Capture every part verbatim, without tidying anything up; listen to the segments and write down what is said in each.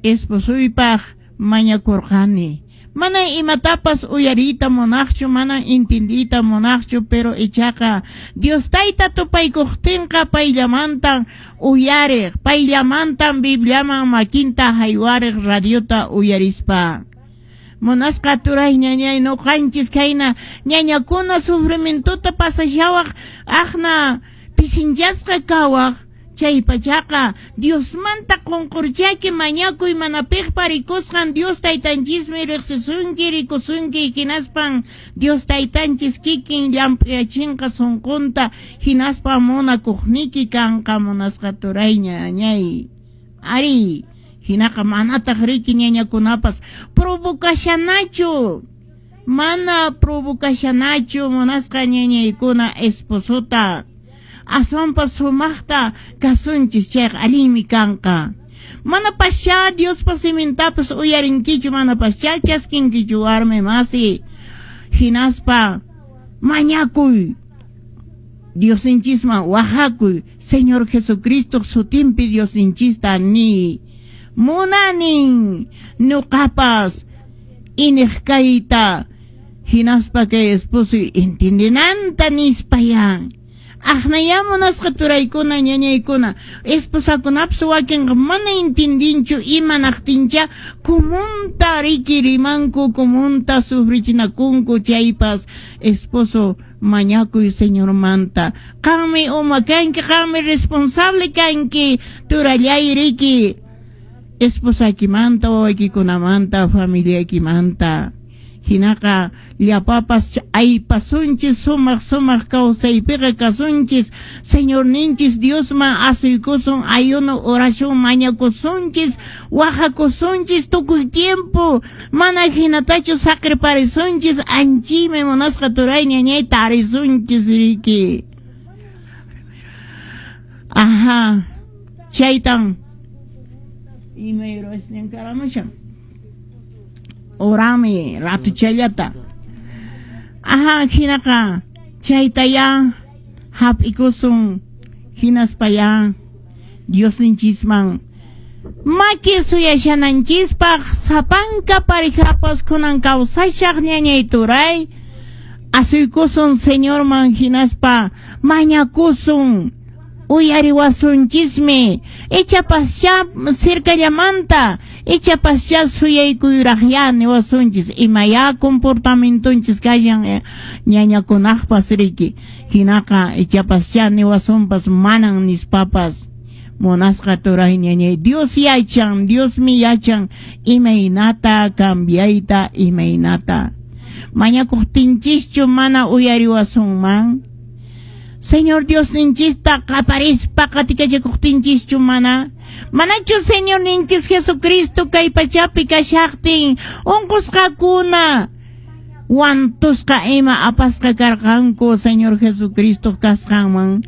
Esposoypaq mañakurqani. Mana imatapas uyariyta munaqchu, mana intindiyta munaqchu, pero ichaqa Dios tayta tupaykuqtinqa payllamantan uyariq, payllamantan Bibliaman makinta haywariq radiota uyarispa. Munasqa turay ñañay, nuqanchis khayna ñañakuna sufrimientuta pasashawaq, aqna pisinchasqa kawaq, chay pachaqa Diosmanta qunqurchaki mañakuy, mana piqpa rikusqan Dios taytanchismi riqsisunki, rikusunki, hinaspan Dios taytanchis kikin llamp'uyachinqa sunqunta, hinaspa munakuqniki kanqa, munasqa turay ñañay. Ari, hinaqa manataq riki ñañakunapas provocashanachu, mana provocashanachu munasqa ñañaykuna esposota. Aswanpas sumaqta kasunchis, chayqa allinmi kanqa. Manapascha Diospa simintapas uyarinkichu, manapascha chaskinkichu warmi masi. Hinaspa mañakuy, Diosninchisman wajakuy, Señor Jesucristo sutinpi Diosninchista ni. Munanin nuqapas iniq kayta, hinaspa kay esposoy entendinanta nispayan. Aqnaya munasqa turaykuna ñañaykuna, esposakunapas wakinqa mana intindinchu imanaqtincha kumunta riki rimanku, kumunta sufrichinakunku, chaypas esposo mañakuy Señormanta. Qanmi uma kanki, qanmi responsable kanki, turallay riki, esposakimanta, wawaykikunamanta, familiaykimanta. Hinaqa llapapas aypasunchis, sumaq sumaq kawsaypiqa kasunchis, Señorninchis Diosman asuykusun, ayuno oración mañakusunchis, wajakusunchis tukuy tiempo, mana hinatachu saqirparisunchis, anchimi munasqa turay ñañay tarisunchis riki. Ajá, chaytan imayrasñan karamushan. Orami ratuchallata. Ajá, hinaqa chaytaya hap'ikusun, hinaspaya Diosninchisman maki suyashananchispaq sapanka parejapas kunan kawsashaq ñañay turay asuykusun Señorman, hinaspa mañakusun, uyariwasunchismi, ichapascha cercallamanta, ichapascha suyaykuyraqya niwasunchis, imaya comportamientonchis kashan ñañakunaqpas riki, hinaqa ichapascha niwasunpas manan nispapas. Munasqa turay ñañay, Dios yachan, Diosmi yachan imaynata cambiayta, imaynata mañakuqtinchischu mana uyariwasunman. Señor Diosninchista qaparispa qatikachakuqtinchischu mana, manachu Señor ninchis Jesucristo kay pachapi kashaqtin unqusqakuna wantusqa ima apasqa karqanku Señor Jesucristo kasqanman.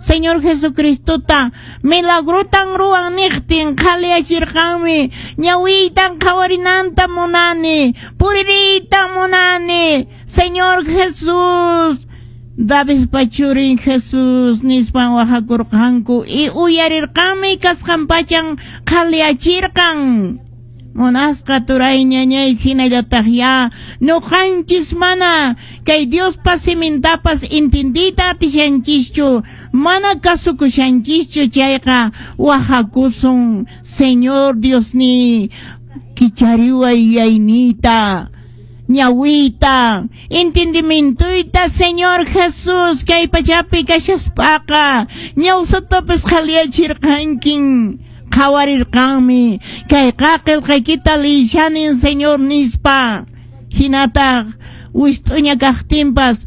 Señor Jesucristota milagrotan ruwan niqtin qhaliyachirqanmi, ñawiytan qhawarinanta munani, puririytan munani, Señor Jesús, Davidpa churin Jesús nispan wajakurqanku y uyarirqanmi kasqan pachan qhaliyachirqan. Munasqa turay ñañay, hinallataq ya nuqanchis mana kay Diospa simintapas intindiyta atishanchischu, mana kasukushanchischu, chayqa wajakusun, Señor Diosni, kichariway yuyayniyta, ñawiyta, entendimientoyta, Señor Jesús, kay pachapi kashaspaqa ñawsatapas qhaliyachirqankin, qhawarirqanmi, kayqa qillqaykita liyishanin Señor nispa. Hinataq wist'uña kaqtinpas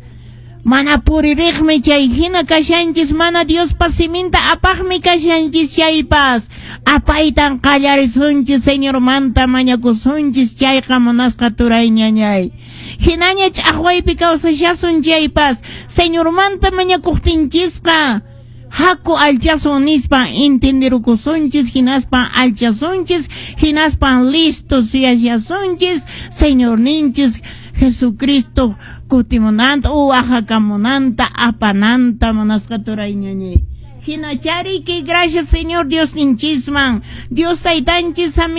mana puririqmi, chay hina kashanchis, mana Diospa siminta apaqmi kashanchis, chaypas apaytan qallarisunchis, Señormanta mañakusunchis, chayqa munasqa turay ñañay. Hinaña ch'aqwaypi kawsashasun chaypas Señormanta mañakuqtinchisqa haku alchasun nispa entenderukusunchis, hinaspa alchasunchis, hinaspa listo suyashasunchis Señorninchis Jesucristo kutimunanta, uwajakamunanta, apananta, munasqa turay ñañay. Hinachariki, gracias Señor Dios ninchisman, Dios taytanchis.